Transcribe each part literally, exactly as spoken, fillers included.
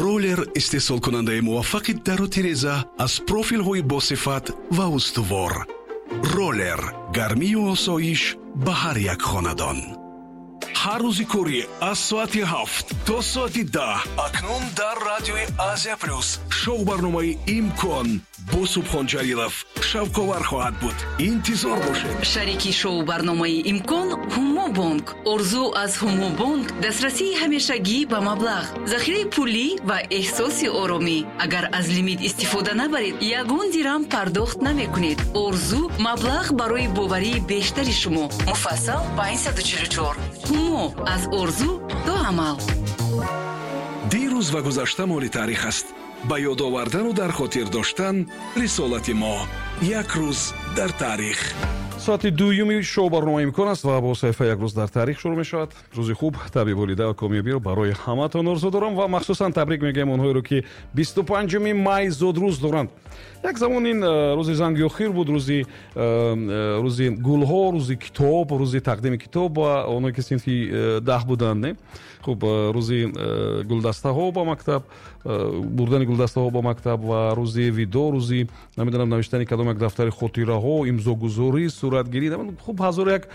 Роллер истеҳсолкунандаи муваффақи дару тиреза аз профилҳои босифат ва устувор. Роллер гармию осоиш ба ҳар як хонадон. Ҳар рӯзи корӣ аз соати ҳафт то соати даҳ акнун дар радиои Азия Плюс шоу барномаи «Имкон» бо Субҳон Ҷалилов шавқовар хоҳад буд. Интизор бошед. Шарики шоу барномаи «Имкон» Ҳумобонк. Орзу аз Ҳумобонк дастрасии ҳамешагӣ ба маблағ, захираи пулӣ ва эҳсоси оромӣ. Агар аз лимит истифода набаред, ягон дирам пардохт намекунед. Орзу маблағ барои боварии бештари шумо. Муфассал панҷсаду чилу чор. Ҳумо аз орзу то амал. Дирӯз ва гузашта моли таърих аст. Ба ёд овардану дар хотир доштан рисолати мо. Як рӯз дар таърих. Соати дуюми шоу барномаи «Имкон» аст ва бо саҳифаи «Як рӯз дар таърих» шурӯъ мешавад. Рӯзи хуб, табъи болида ва комёбиро барои ҳамаатон орзу дорам ва махсусан табрик мегӯям онҳоеро, ки бисту панҷуми май зодрӯз доранд. Як замон ин э, рӯзи занги охир буд, рӯзи э, э, рӯзи гулҳо, рӯзи китоб, рӯзи тақдими китоб ба онҳое, ки синфи даҳ буданд, не? Хуб, рӯзи гулдастаҳо ба мактаб, бурдани гулдастаҳо ба мактаб ва рӯзи видо, рӯзи, намедонам, навиштани кадом як дафтари хотираҳо, имзогузорӣ, суратгирӣ, хуб, ҳазору як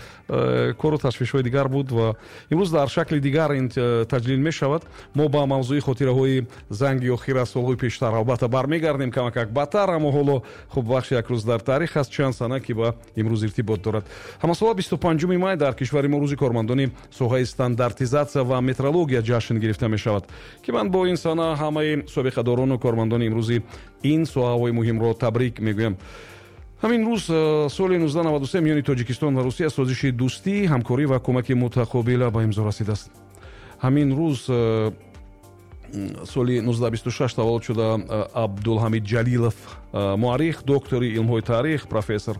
кору ташвишҳои дигар буд ва имрӯз дар шакли дигар ин таҷлил мешавад. Мо ба мавзӯи хотираҳои занги охир аз солҳои пештар албатта бармегардем камакак баъдтар, аммо ҳоло, хуб, бахши «Як рӯз дар таърих» аст, чанд сана, ки ба имрӯз иртибот дорад. Ҳамасола бисту панҷуми май дар кишвари мо рӯзи кормандони соҳаи стандартизатсия ва метрология ҷашн гирифта мешавад, ки ман бо ин сана ҳамаи собиқадорону кормандони имрӯзи ин соҳаҳои муҳимро табрик мегӯям. Ҳамин рӯз э, соли нуздаҳ наваду се миёни Тоҷикистон ва Русия созиши дӯстӣ, ҳамкорӣ ва кӯмаки мутақобила ба имзо расидааст. Ҳамин рӯз э, соли нуздаҳ бисту шаш таваллуд шуда э, Абдулҳамид Ҷалилов, муаррих, доктори илмҳои таърих, профессор.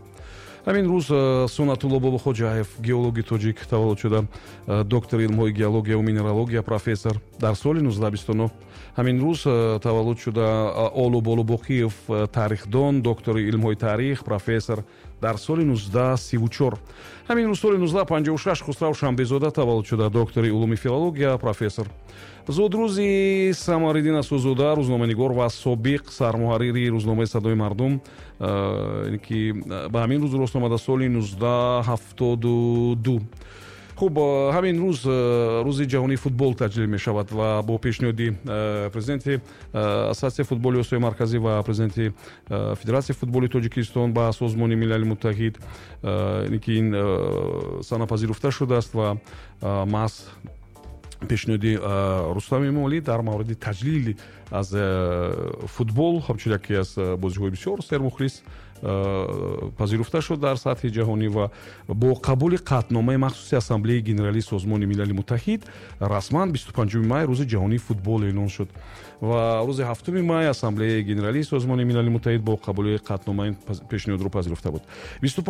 Ҳамин рӯз Суннатулло Бобохоҷаев, геологи тоҷик, таваллуд шуда, доктори илмҳои геология ва минералогия, профессор, дар соли нуздаҳ бисту нӯҳ. Ҳамин рӯз таваллуд шуда Олу Болубоқиев, тарихдон, доктори илмҳои таърих, профессор, дар соли нуздаҳ сиву чор. Ҳамин рӯз соли нуздаҳ панҷоҳу шаш Хусрав Шанбезода таваллуд шуда, доктори улуми филология, профессор. Зодрӯзи Самариддин Асузода, рӯзноманигор ва собиқ сармуҳаррири рӯзномаи «Садои мардум», ки ба ҳамин рӯз рост омада соли нуздаҳ ҳафтоду ду. Хуб, ҳамин рӯз Рӯзи ҷаҳонии футбол таҷлил мешавад ва бо пешниҳоди президенти Ассотсиатсияи футболи Осиёи Марказӣ ва президенти Федератсияи футболи Тоҷикистон ба Созмони Милали Муттаҳид ки ин сана пазируфта шудааст ва маҳз пешниҳоди Рустам Эмомалӣ дар мавриди таҷлили аз футбол ҳамчун яке аз бозиҳои бисёр сермухлис пазируфта шуд дар сатҳи ҷаҳонӣ ва бо қабули қатъномаи махсуси Ассамблеяи Генералии Созмони Милали Муттаҳид расман бисту панҷуми май Рӯзи ҷаҳонии футбол эълон шуд ва рӯзи ҳафтуми май Ассамблеяи Генералии Созмони Милали Муттаҳид бо қабули қатънома ин пешниҳодро пазируфта буд.